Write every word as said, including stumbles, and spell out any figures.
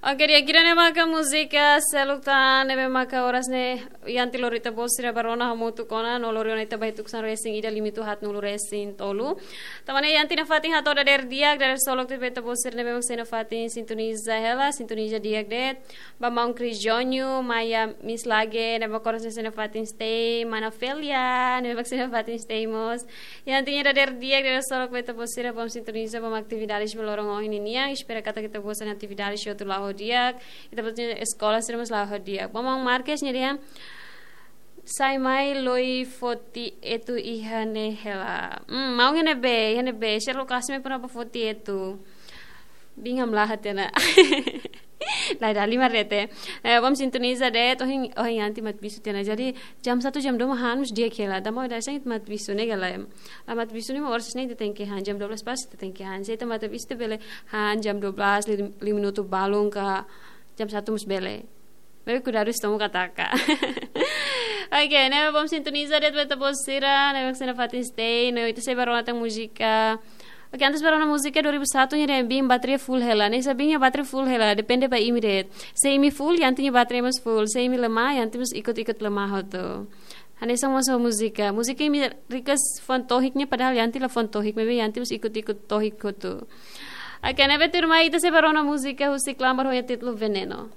Oke, di'ak, ida-ne'e maka múzika seluk tan ne'ebé maka oras ne'e Yanti lori ita-boot sira ba rona hamutuk ona, no lori ona ita ba iha tukusan resin ida limitu haat nulu resin tolu. Tan ne'e Yanti nafatin hato'o dadeer di'ak, dadeer solok tiha ba ita-boot sira ne'ebé mak sei nafatin sintoniza hela, sintoniza di'ak de'it. Ba maun Chris Jonyu, Maya Miss Lage, ne'ebé mak oras ne'e sei nafatin stay, mana Felia, ne'ebé mak sei nafatin stay mós. Yanti nia dadeer di'ak, dadeer solok ba ita-boot sira, bom sintoniza, bom atividades ba loron ohin ninian. Espera katak ita-boot sira-nia atividades hotu la'o ho di'ak. Ita-boot sira-nia eskola sira mós la'o ho di'ak. Bom, maun Marques nia dehan, sai mai loi foti etu iha ne'e hela. Hmm, maun iha ne'ebé, iha ne'ebé. Sira lokasi mai para ba foti etu. Biin hamlaha tiha ona. Lae, dala limar de'it. Eh, bom sintoniza de'it, ohin, ohin Yanti matabixu tiha ona. Jadi, jam satu, jam dua mak han mós di'ak hela. Tanba ohin dadaun ita matabixu ne'e ka lae. La matabixu ne'e mak oras ne'e ita tenke han, jam dua belas pas ita tenke han. Se ita matabixu ita bele han jam dua belas, lim-, lima minutu balun ka jam satu mós bele. Maibé kuidadu ita-boot mak taka. Oke, ne'e bom sintoniza de'it ba ita-boot sira, ne'ebé mak sei nafatin stay, no ita sei ba rona tan múzika. Oke, antes ba rona múzika dua ribu satu nia dehan biin bateria full hela, ne'e hanesan biin nia bateria full hela, depende ba imi de'it. Se imi full, Yanti nia bateria mós full, se imi lemah, Yanti mós ikut-ikut lemah hotu. Hanesan mós ho múzika. Múzika imi request fuan tohik ne'e, padahal Yanti la fuan tohik, maibé Yanti mós ikut-ikut tohik hotu. Oke, ne'ebé tuirmai ita sei ba rona múzika husi Klambar ho nia títulu Veneno.